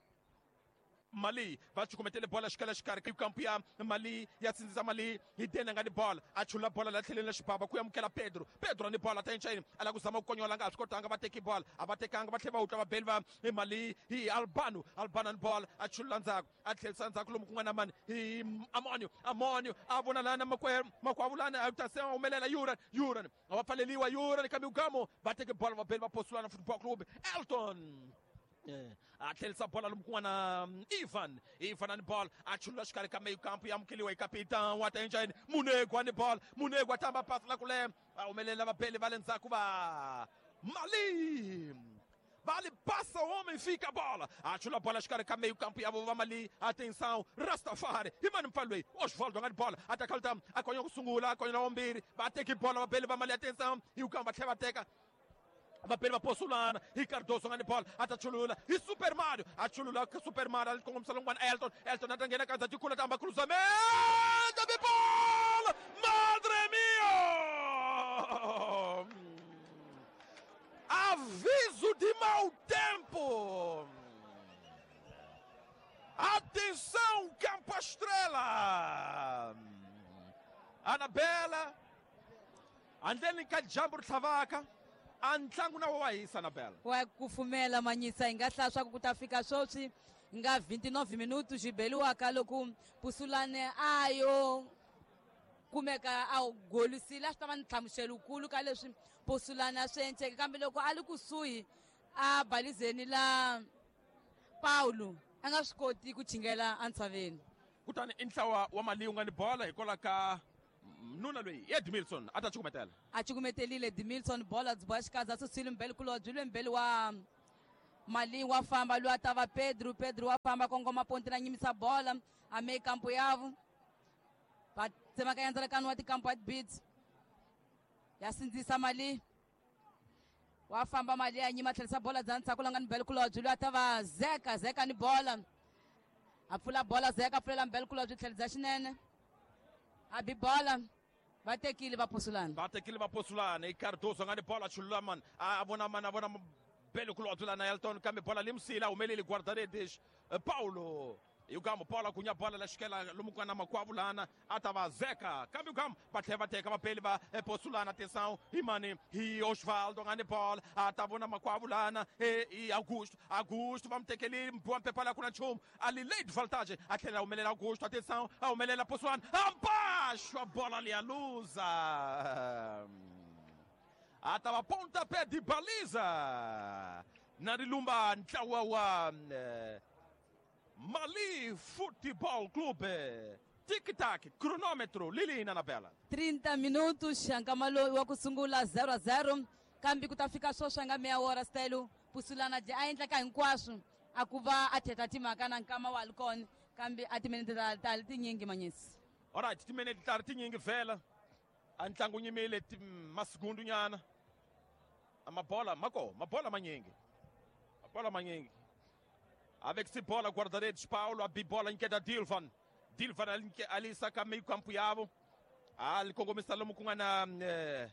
Mali va cukumetele bola xikala xikarhi kampu ya Mali ya sindzisa Mali hi dena nga ni bola a chula bola la tlheleni la xibaba ku amukela Pedro Pedro ni bola ta enchayini a lava ku zama ku konyola nga swi kotanga va teki bola a va tekanga va tlhela va wutla va beli va Mali hi Albano Albano ni bola a chula ndzhaku a tlhelisa ndzhaku lomu ku nga na mani hi Amonio Amonio a vona lana makwerhu makwavo lana a ta se humelela Yuran Yuran a va pfaleliwa Yuran kambe Ugamo va teke bola va beli va Possulana Football Club Elton. A tlhelisa bola lomu kun'wana Ivan Ivan ani bola a chulula xikarhi ka meio campo ya amukeliwa hi capitão wa ta enjani Munego ani bola Munego a tamba pasi la kule va humelela vabeli va le ndzhaku va Mali Vale, passa o homem, fica a bola. Achou a bola, xikarhi ka meio campo ya va Mali. Atenção, Rastafari. E mano Mfalwe, Osvaldo nga bola. Ataka ta akonya ku sungula, akonya wa mbirhi. Va teki bola vabeli va Mali, atenção. E o campo va tlhela va teka. Vapele va Possulana, Ricardoso nga ni bola, atachulula, e Super Mario, achulula Super Mario, ali com o Salongwana, Elton, Elton atangena kanza tikula tamba cruzamento, de bola, madre mia! Aviso de mau tempo! Atenção, Campo Estrela! Anabela, andleni ka jambu tlhavaka. A ntlangu na wa hisa Anabela. Wa kufumela manyisa hi nga hlaya swa ku ku ta fika sweswi nga vinte e nove minutos xibeliwaka loko Possulane a yo kumeka a golisile a swi ta va ni nhlamuselokulu ka leswi Posulana swi enceke kambe loko a li kusuhi a balizeni la Paulo a nga swi koti ku chingela entshaveni. Kutani i ntlawa wa Mali wu nga ni bola hikwalaho ka nuna loyi Edmilson a ta cukumetela. A cukumetelile Edmilson bola byi boha xikandza susile mbele kulobye lwe mbele wa Mali wa famba loyi a ta va Pedro Pedro wa famba kongoma ponti na nyimisa bola a me kampo yavo va tsemakanya ndzalakano wa tikampo ya tibits ya sindzisa Mali wa famba Mali ya nyima tlherisa bola bya ndzhaku la nga ni mbele kulobye loyi a ta va Zeka Zeka ni bola a pfula bola Zeka a pfulela mbele kulobye tlhelo bya xinene a bi bola va tekile va posulana va tekile va posulana i Cardoso nga ni bola chulula man a vona man a vona bele kulobye lana Elton kambe bola limsila humeleli guarda-redes Paulo Yugamo bola kunya bola la xikela lomu ku nga na makwavo lana a ta va Zeka kambe Yugamo va tlhela va teka vapeli va posulana atenção hi mani hi Osvaldo nga ni bola a ta vona makwavo lana i Augusto Augusto va mu tekelile mbiwa mpepa la ku na nchumu a li late voltage a tlhela a humelela Augusto atenção a humelela posulana abaixo a bola ali a luza a ta va pontapé de baliza na rilumba ntlawa wa eh, Mali Futebol Clube. Tic-tac, cronômetro, Lilina na bela. trinta minutos, nkama lowu wa ku sungula zero a zero kambe ku ta fika sweswi nga meya wora style Pusulana dyi a endla ka hinkwaswo a ku va a thetha timhaka na nkama wa li kona kambe a timinete ta ta li tinyingi manyisi. Alright, timinete ta ri tinyingi vhela a ntlangu nyimile masigundu nyana a mabola mako mabola manyingi mabola manyingi avec esse bola guarda-redes Paulo a bibola inquieta Dilvan Dilvan ali saka meio campo yavo ali kongomisa lomu ku nga na eh,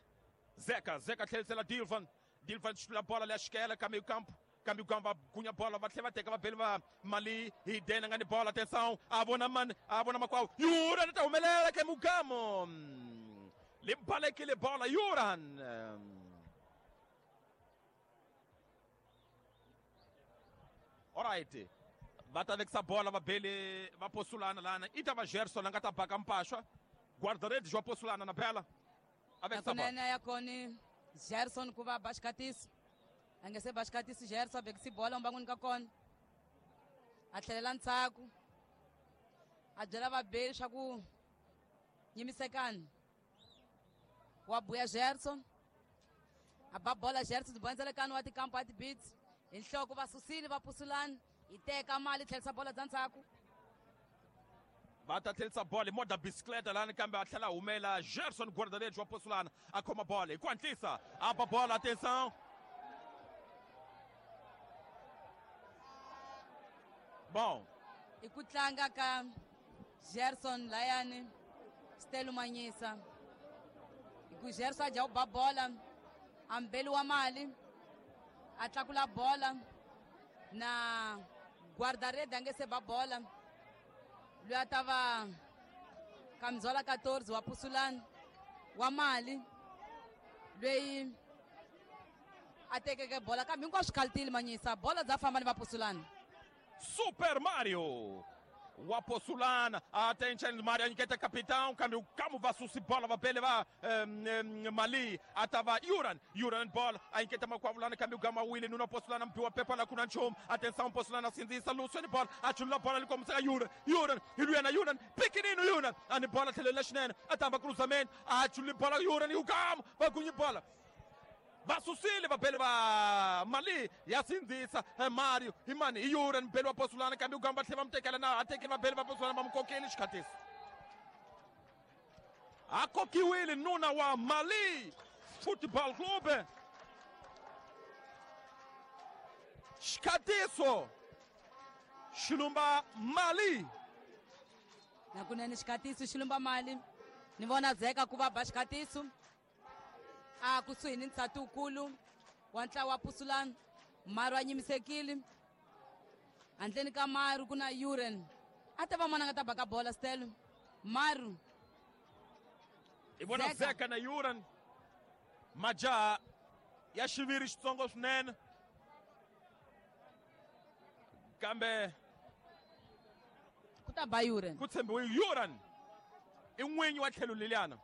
Zeka Zeka tlherisela Dilvan Dilvan xitula bola leya xikela ka meio campo kambe ku va gunya bola va tlhela va teka vabeli va Mali hi dena nga ni bola atenção a vona mani a vona makwavo Yuran ta humelela ke mugamo li balekile bola Yuran alright va ta vekisa bola vabeli va posulana lana i ta va Gerson a nga ta baka mpaxwa guarda-redes wa posulana na bela a vekisa bola Kunene ya koni Gerson ku va ba xikatiso a nge se ba xikatiso Gerson a vekisi bola mbangwini ka kona a tlhelela ndzhaku a byela vabeli swa ku nyimisekani wa buya Gerson a ba bola Gerson byi ndzalekano wa tikampo ya tibits hi nhloko va susile va pusulana hi teka mali tlherisa bola bya ndzhaku va ta tlherisa bola hi moda bicicleta lani kambe a tlhela a humela Gerson guarda-redes wa posulana a khoma bola hi ku hatlisa a ba bola atenção bom i ku tlanga ka Gerson layani Stelo Manyisa hi ku Gerson a dya ku ba bola a mbeli wa mali a tlakula bola na guarda-redes a nge se ba bola loyi a ta va Kamzola quatorze wa Pusulana wa mali loyi a tekeke bola kambe hinkwaswo khalitile Manyisa bola bya famba ni va Pusulana. Super Mario wa Posulana attention Mario anyiketa capitão kambe ukamu va susi bola va bele va um, um, Mali atava Yuran Yuran bola anyiketa makwavulana kambe ugama wile nuna Posulana mpiwa pepa la kuna nchumu atenção Posulana sindzisa Luciano bola achulula bola likomiseka Yuran Yuran hiluyana Yuran pikinino Yuran ani bola tlhelela xinene atamba cruzamento achulula bola Yuran ukamu va gunyi bola va susile vabeli va Mali ya sindzisa Mario imani i Yuran mbeli wa Posulana kambe ugamba tlhela va mu tekela na a tekeli vabeli va Posulana va mu kokeli xikhatisi a kokiwile nuna wa Mali Football Club xikatiso xilumba Mali nakunene xikatiso xilumba Mali ni vona Zeka ku va ba xikatiso a kusuhi ni nsati wukulu wa ntlawa wa Pusulana Maru a nyimisekile handleni ka Maru ku na Yuran a ta va mona nga ta baka bola Stelo Maru i vona Zeka na Yuran majaha ya xiviri xitsongo swinene kambe ku ta ba Yuran ku tshembiwe Yuran i n'winyi wa tlhelo leliyana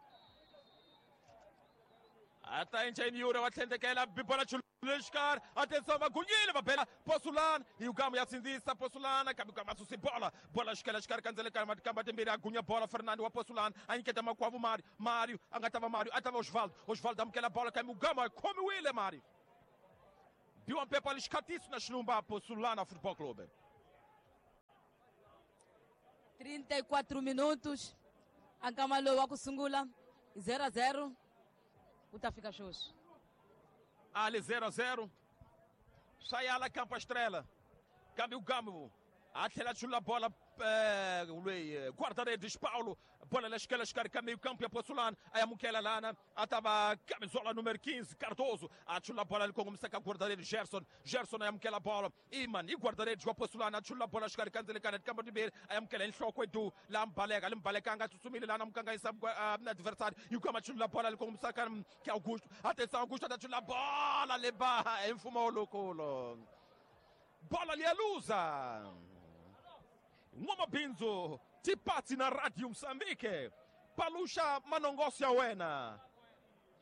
Ata encheni yura wa tlhendekela bibola chuleshkar. Atenção vagunyile va bela Posulana. E o Gamo ya sindzisa Posulana kambe Gamo a susi bola. Bola xikela xikarhi ka ndzele ka matikamba timbirhi a gunya bola Fernando wa Posulana a nyiketa makwavu Mario. Mario a nga ta va Mario a ta va Osvaldo. Osvaldo amukela bola kambe Gamo a khomiwile Mario. Biwa mpepa lixikatiso na xilumba Posulana Futebol Clube. trinta e quatro minutos. A nkama lowu wa ku sungula zero a zero. Ku ta fika sweswi. Ali zero a zero. Sayala Campo Estrela. Kambe o Gamo a tlhela chula bola eh, guarda-redes Paulo. Bola na esquerda, xikarhi ka meio campo ya Posulana. A amukela lana a ta va camisola número quinze Cardoso. A chula bola ali kongomisa ka guarda-redes Gerson. Gerson a amukela bola. Iman i guarda-redes wa Posulana a chula bola xikarhi ka ndzele ka timbirhi a amukela enhloko edu la mbaleka limbaleka a nga tsutsumile lana mukanganyisa adversário. E o Gamo a chula bola ali kongomisa ka Augusto. Atenção Augusto a chula bola leba em fumo louco. Bola ali a luza. N'wamabindzu tipatsi na Radio Moçambique paluxa manongoso ya wena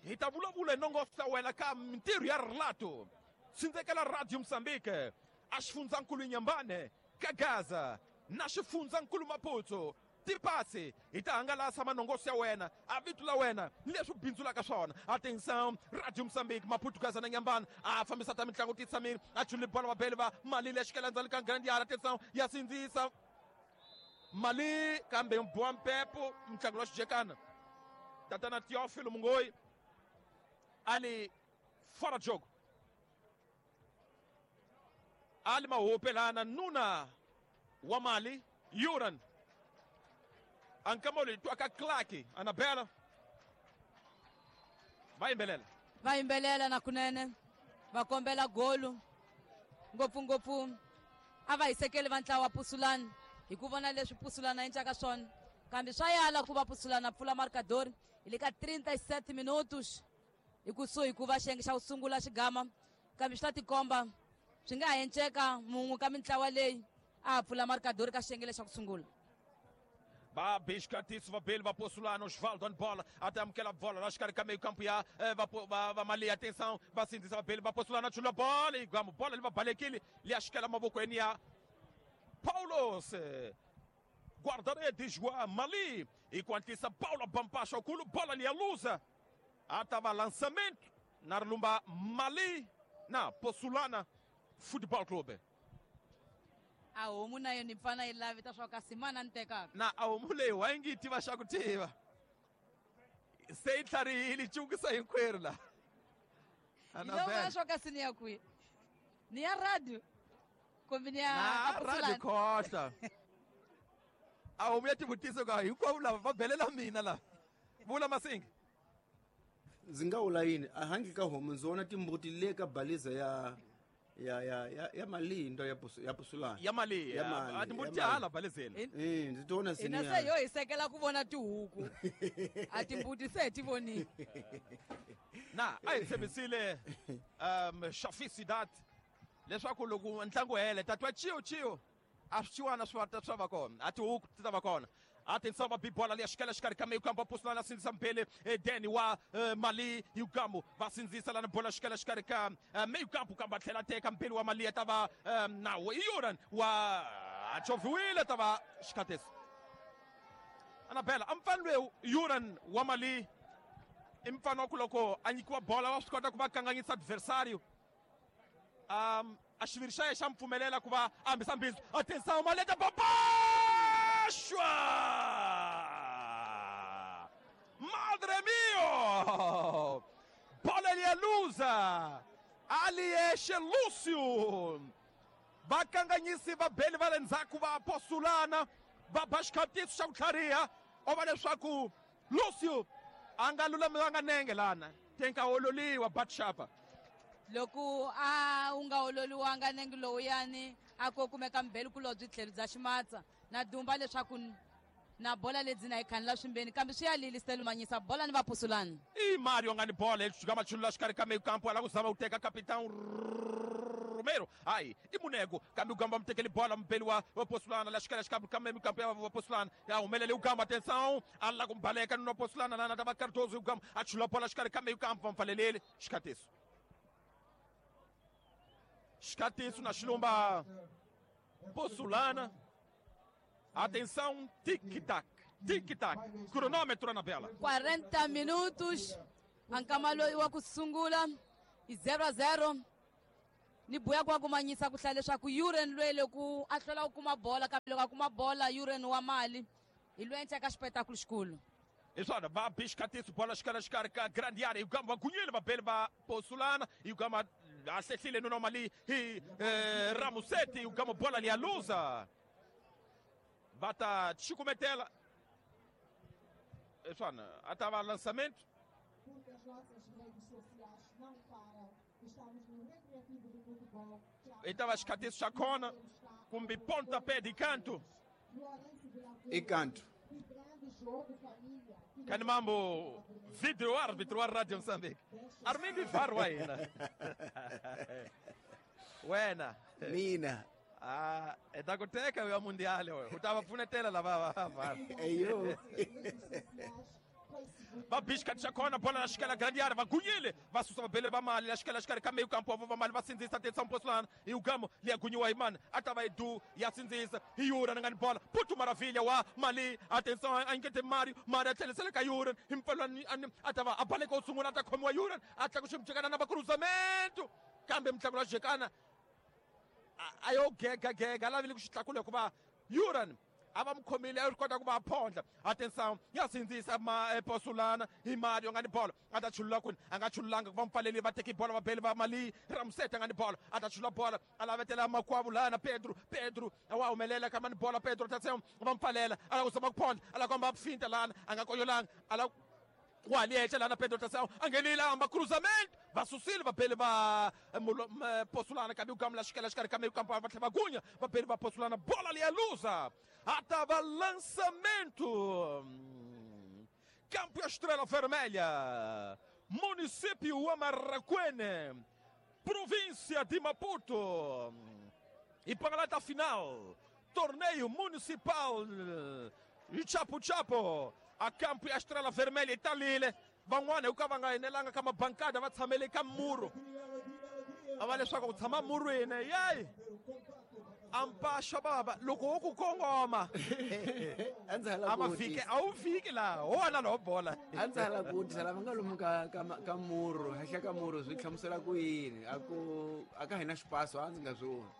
hi ta vulavula hi nongoso ya wena ka mintirho ya rilato sindzekela Radio Moçambique a xifundzankulu Inhambane ka Gaza na xifundzankulu Maputo tipatsi hi ta hangalasa manongoso ya wena a vito la wena ni leswi bindzulaka swona. Atenção Radio Moçambique Maputo Gaza na Inhambane a fambisa ta mitlangu titshamile a chuli bola vabeli va mali leyi xikela ndzhaku ka grande yara. Atenção ya sindzisa mali kambe mbowa mpepo mutlangi wa xijekana tatana Teófilo Mungoi ali fora de jogo ali mahope lana nuna wa mali Yuran ankamoli twaka Clark Anabela va yimbelela va yimbelela na kunene va kombela golu ngopfungopfu a va hisekeli va ntlawa wa Posulana hi ku vona leswi Posulana endlaka swona kambe swa yala ku va Posulana pfula marcador hi le ka trinta e sete minutos hi kusuhi ku va xiyenge xa ku sungula xigama kambe swi ta tikomba swi nga ha enceka mun'we ka mintlawa leyi a ha pfula marcador ka xiyenge lexa ku sungula. Va biscatiso va bele va Posulana Osvaldo on bola até amukela bola la xikarhi ka meio campo ya va va va mali atenção va sindzisa va bele va Posulana chula bola e gamo bola li va balekile li ya xikela mavokweni ya Paulos guarda-redes wa Mali e quantisa Paulo Bampacha okulu bola li ya luza atava lançamento na rilumba Mali na Posulana Futebol Clube. A homu na yona yi pfana yi lavita swa kasi mana ni tekaka na a homu leyi wa yi nge yi tiva xa ku tiva se yi tlharihile yi cukisa hinkwerhu laha. Hi swa kasi ni ya kwihi ni ya radio kumbe ni ya na radio khohla a homu ya tivutisa ka hinkwavo lava va belela mina lava vula Masingi ndzi nga vula yini a handle ka homu ndzi vona timbuti le ka baliza ya ya ya ya ya mali ndo ya ya Posulana ya mali a timbuti hala balizeni eh ndzi tona sini ina se yo hi sekela ku vona tihuku a timbuti se ti vonile na a hi tshembisile um Shafi Sidat leswaku loko ntlangu hele tatwa chiyo chiyo a swi chiwana swi va swa va kona a tihuku ti ta va kona. Atenção, a bola ali, a esquerda, xikarhi ka meio campo, Posulana sindzisa mbele Deni wa Mali e o Gamo va sindzisa lana bola xikela xikarhi ka meio campo kambe a tlhela teka mbele wa Mali ta va na Yuran wa choviwile ta va xikhateso. Anabela a mfana loyi Yuran wa Mali i mfana wa ku loko a nyikiwa bola wa swi kota ku va kanganyisa adversário um a xiviri xa yena xa mi pfumelela ku va a hambisa mbindzu. Atenção, Maleta Babashwa! Madre mio! Bola ali é luza! Ali é Lúcio! Vakanganyisi va beli va le ndzhaku va Posulana va ba xikhatiso xa ku tlhariha o va leswaku Lúcio a nga lulamanga nenge lana tenka ololiwa Batshapa loko a wu nga ololiwanga nenge lowuyani a ko kumeka mbeli kulobye tlhelo bya ximatsa na dumba leswaku na bola lebyi na yi khanela swimbeni kambe swi ya lili Stelumanyisa bola ni va Posulana. I Mario nga ni bola xika machulula xikarhi ka meio campo ala ku zama ku teka capitão Romero hayi i Munego kambe ugamba mutekeli bola mubeli wa wa Posulana la xikala xikambe kambe mikampo ya wa Posulana ya humelele ugamba atenção ala kumbaleka no Posulana lana tava Cardoso ugamba achula bola xikala kambe ukampa vamfalelele xikatiso xikatiso na xilumba Posulana. Atenção, tic-tac, tic-tac. Cronômetro, Anabela. quarenta minutos. Ankama loyi wa ku sungula i zero a zero. Ni buya kwa kumanyisa ku hlaya leswaku Yuren lwele ku a hlwela ku kuma bola kambe loko a kuma bola Yuren wa mali hi lwenca ka xipetakulu xikulu. Iswana va bixikatiso bola xikala xikarhi ka grande área ugamba gunyile vabeli va Posulana ugamba ahlehlile nuno mali hi eh, Ramusetti ugamba bola liyaluza. Bata chikumetela. Iswana atava lançamento. Estava xikatiso chacona kumbe pontapé de canto. E canto. Kani mambo video árbitro wa Radio Mozambique. Armindo Varro wena. Wena. Mina. Ah, eta kuteka ya mundial wewe. Utawapfunetela lava va. Eyo. Babishka tshakona bola na xikala grande área vagunyile vasusa vabele va mali la xikala xikarhi ka meio campo va mali va sindzisa atenção Posulana e o gamo liyagunyiwa hi mani a ta va edu ya sindzisa hi Yuran nga ni bola Putu Maravilha wa mali atenção a ingete Mario Mario a tlhelisela ka Yuran hi mpfalwani a ta va a baleka u sungula a ta khomiwa Yuran a tlakuxa mujekana na va cruzamento kambe mutlangi wa jekana a yo gega gega a lavile ku xi tlakula hikuva Yuran a va mukhomile a ri kota ku va phondla. Atenção ya sindzisa ma Posulana hi Mario nga ni bola a ta chulula kwini a nga chululanga ku va mupfaleli va teki bola va beli va mali Ramuseta nga ni bola a ta chulula bola a lavetela makwavo lana Pedro Pedro wa humelela ka mani bola Pedro atenção va mupfalela a lava ku zama ku phondla a lava ku hamba finta lana a nga koyolanga a lava waliecha lana Pedro atenção a nghenile a hamba cruzamento va susile vabeli va Posulana kambe ugamula xikela xikarhi ka meio campo va tlhela va gunya vabeli va Posulana bola liyaluza atava lançamento Campo Estrela Vermelha, município Amarraquene, província de Maputo. E para a final, torneio municipal Chapo Chapo, a Campo Estrela Vermelha italile van'wana hi ku ka va nga enelanga ka mabankada va tshamele ka muru a va leswaku ku tshama murwini yeyi ampaxa baba loko wo ku kongoma a ma fiki a wu fiki laha ho wona lowo bola a ndzi hala ku vutisa lava nga lomu ka ka ka muru henhla ka muru swi hlamusela ku yini a ku a ka hina xipaso a ndzi nga swi voni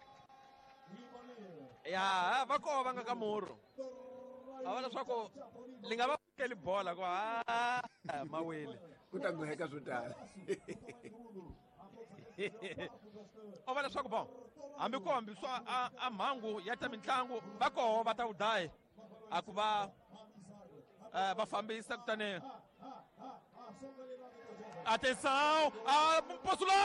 ya va koho va nga ka muru a va leswaku li nga va fikeli bola ku a mawile ku ta goheka swo tala o va leswaku bon hambi ku hambi swa a, a mhangu ya ta mitlangu va koho va ta wudayi a ku va uh, va fambisa kutani atenção a Posulana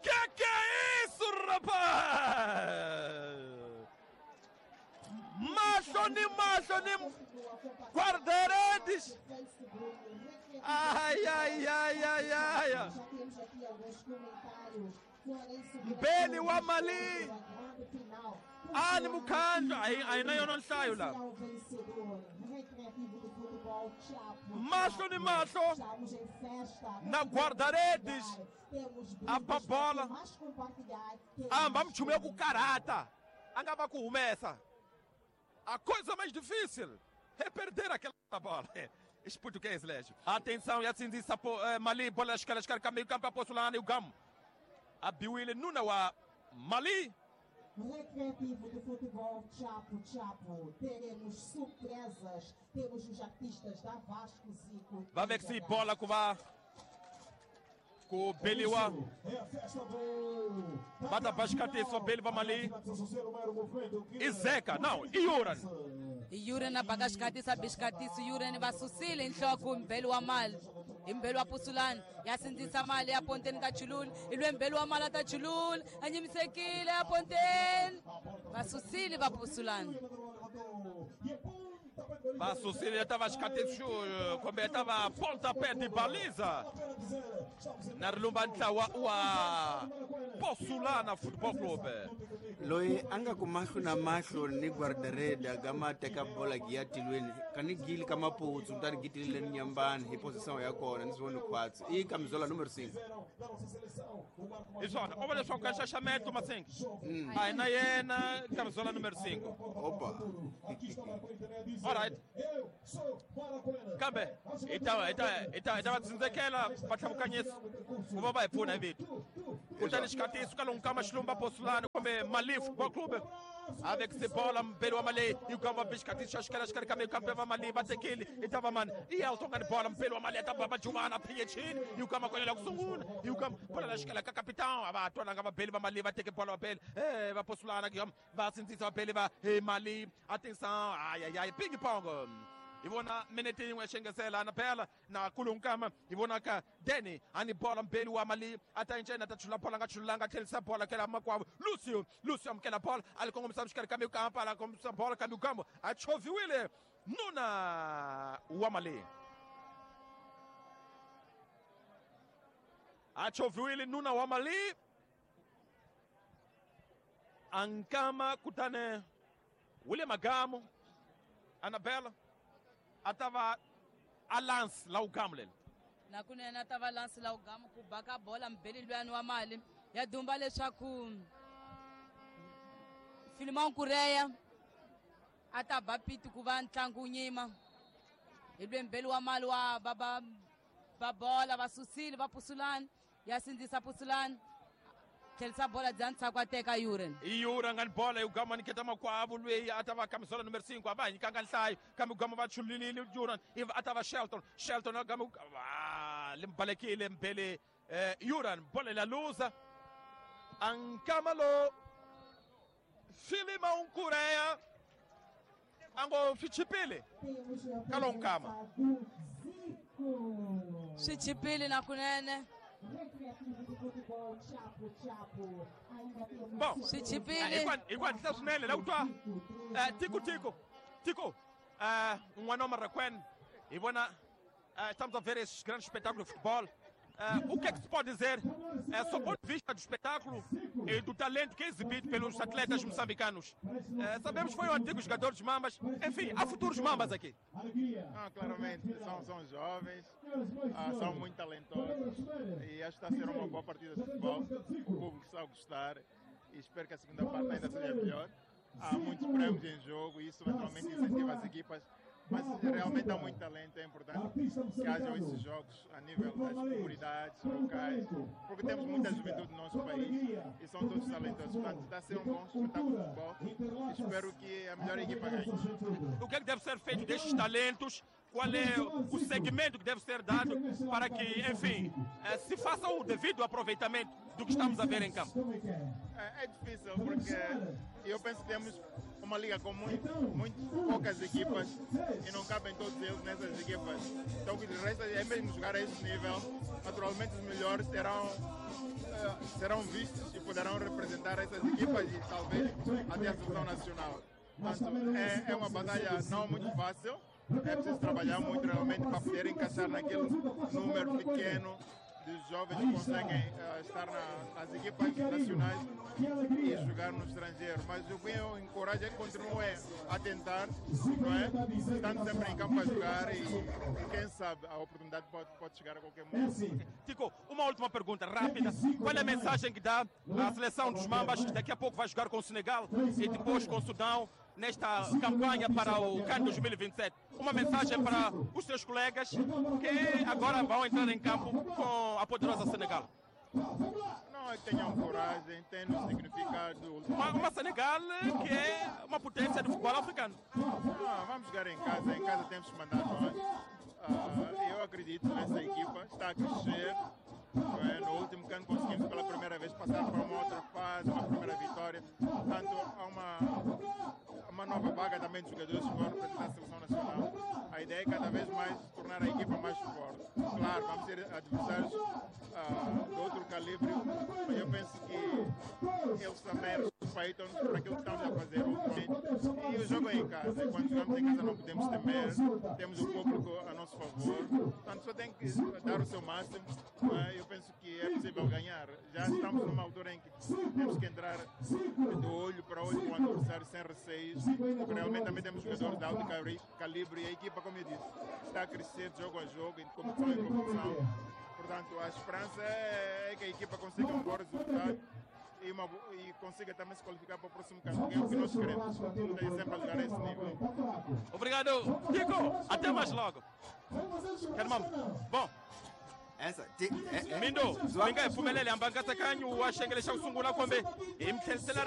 que que é isso rapaz mahlo ni mahlo ni guarda-redes. Ai, ai, ai, ai, ai. Mbeli wa mali ani mukhandlu a na yona nhlayo la mahlo ni mahlo na guarda-redes a ba bola a hamba mchumu ya ku karata a nga va ku humesa. A coisa mais difícil é perder aquela bola. Esse português, Légio. Atenção, e sindzisa Mali, bola escala, escala, meio campo, Posulana e o Gamo. A Biwile Nuna wa Mali. Recreativo do futebol Chapo Chapo. Teremos surpresas, temos os artistas da Vasco Zico. Vai ver que se bola com a com o Beliwa. Bata bascate só Beliwa Mali. E Zeca, não, e Yuran. Yuran abakashikatisa bishikatisa Yuran vasusile nhloko mbeli wa mali. Imbeli wa Posulana yasindzisa mali ya ponteni ka Chulul ilwe mbeli wa mali ta Chulul anyimisekile ya ponteni vasusile va Posulana. Vasusile ya ta va xikatexo kumbe ya ta va pontapé de baliza na ri lumba ntlawa wa Posulana Football Club. Loyi a nga ku mahlo na mahlo ni guardareda ga ma teka bola gi ya tilweni ka ni gili ka maputsu kutani gi tilile ni nyambani hi position ya kona ni swi voni khwatsi i kamizola numero cinco. Hi swona o va leswaku ka nxaxameto Masinga a hi na yena kamizola numero cinco. Opa. All right. Kambe hi ta hi ta hi ta hi ta va tsindzekela vatlhavukanyisi ku va va hi pfuna hi vito. Kutani xikatiso ka lonkama xilumba Posulana kumbe Mali Football Club avec se bola mbeli wa Mali yi kamba bixikatiso xa xikela xikarhi ka mikambe va Mali va tekile i ta va mani i Elton nga ni bola mbeli wa Mali ya ta ba Jumana Phiyechini yi kamba konyela ku sungula yi kamba bola la xikela ka capitão a va twananga vabeli va Mali va teke bola vabeli eh va Posulana va sindzisa vabeli va Mali atenção ay ay ay ping pong. Hi vona minete yin'we ya xengesela na phela na kulunkama hi vona ka Danny ani bola mbeli wa Mali a ta incena ta chula bola nga chulanga tlherisa bola kela makwavo Lucio Lucio amukela bola a li kongomisa xikarhi ka mikampa a la kongomisa bola ka mikambo a choviwile nuna wa Mali a choviwile nuna wa Mali ankama kutane William Agamo Anabela a ta va a lance la ugamu leli na kunene a ta va lance la ugamu ku baka bola mbeli luyani wa Mali ya dumba leswaku Filimon Kureya a ta ba piti ku va ntlangu wu nyima hi lwe mbeli wa Mali wa ba ba ba bola va susile va Pusulani ya sindzisa Pusulani tlherisa bola bya ntshaku a teka Yuren. I Yura nga ni bola yi gama niketa makwavo lweyi a ta va kamisola numero cinco a va hi nyikanga nhlayo kambe gama va chululile Yuran ivi a ta va Shelton Shelton a gama limbalekile mbele eh, Yuran bola la luza ankama lo Filimão Kureya ango swi chipile ka lo nkama swi chipile na kunene. Bom, swi chipile hi ku hatlisa swinene la ku twa tiko tiko tiko n'wana wa Marraquene hi vona estamos a ver esse grande espetáculo de futebol. Uh, o que é que se pode dizer uh, sob o ponto de vista do espetáculo e do talento que é exibido pelos atletas moçambicanos? Uh, sabemos que foi um antigo jogador dos Mambas, enfim, há futuros Mambas aqui. Ah, claramente, são, são jovens, ah, são muito talentosos e acho que está a ser uma boa partida de futebol. O público está a gostar e espero que a segunda parte ainda seja melhor. Há muitos prêmios em jogo e isso naturalmente incentiva as equipas. Mas realmente há muito talento, é importante que hajam esses jogos a nível das comunidades locais, porque temos muita juventude no nosso país e são todos talentosos. Portanto, está a ser um bom espetáculo de futebol e espero que a melhor equipa ganhe. O que é que deve ser feito destes talentos? Qual é o segmento que deve ser dado para que, enfim, se faça o devido aproveitamento do que estamos a ver em campo? É, é difícil, porque eu penso que temos uma liga com muito, muito poucas equipas e não cabem todos eles nessas equipas. Então o que resta é mesmo jogar a este nível. Naturalmente os melhores serão, serão vistos e poderão representar essas equipas e talvez até a seleção nacional. Portanto, é, é uma batalha não muito fácil. É preciso trabalhar muito realmente para poder encaixar naquele número pequeno de jovens que conseguem uh, estar na, nas equipas nacionais e jogar no estrangeiro. Mas o que eu encorajo é que continuem a tentar, não é? Estando sempre em campo a jogar e, e quem sabe a oportunidade pode, pode chegar a qualquer momento. Tico, uma última pergunta rápida. Qual é a mensagem que dá à seleção dos Mambas, que daqui a pouco vai jogar com o Senegal e depois com o Sudão, nesta campanha para o CAN dois mil e vinte e sete? Uma mensagem para os seus colegas que agora vão entrar em campo com a poderosa Senegal. Não é que tenham coragem, tenham significado. Uma, uma Senegal que é uma potência do futebol africano. Ah, vamos jogar em casa, em casa temos que mandar nós. Ah, eu acredito nessa equipa, está a crescer. No último ano conseguimos pela primeira vez passar para uma outra fase, uma primeira vitória. Portanto, há uma, uma nova vaga também de jogadores que vão representar a seleção nacional. A ideia é cada vez mais tornar a equipa mais forte. Claro, vamos ter adversários uh, de outro calibre, mas eu penso que eles também respeitam-nos por aquilo que estamos a fazer ultimamente. E o jogo é em casa. E quando jogamos em casa não podemos temer, temos o público a nosso favor. Portanto, só tem que dar o seu máximo. Mas eu penso que é possível ganhar. Já estamos numa altura em que temos que entrar de olho para olho com o adversário, sem receios, porque realmente também temos jogadores de alto calibre e a equipa, como eu disse, está a crescer de jogo a jogo, em competição em competição. Portanto, a esperança é que a equipa consiga um bom resultado e, uma, e consiga também se qualificar para o próximo campo, que é o que nós queremos. Tem sempre a jogar a esse nível. Obrigado, Tico. Até mais logo. Bom. Essa, ti, eh, eh. Mindo, mi nga hi pfumeleli hamba nkatsakanyo wa xiyenge lexa ku sungula kumbe hi mi tlherisela.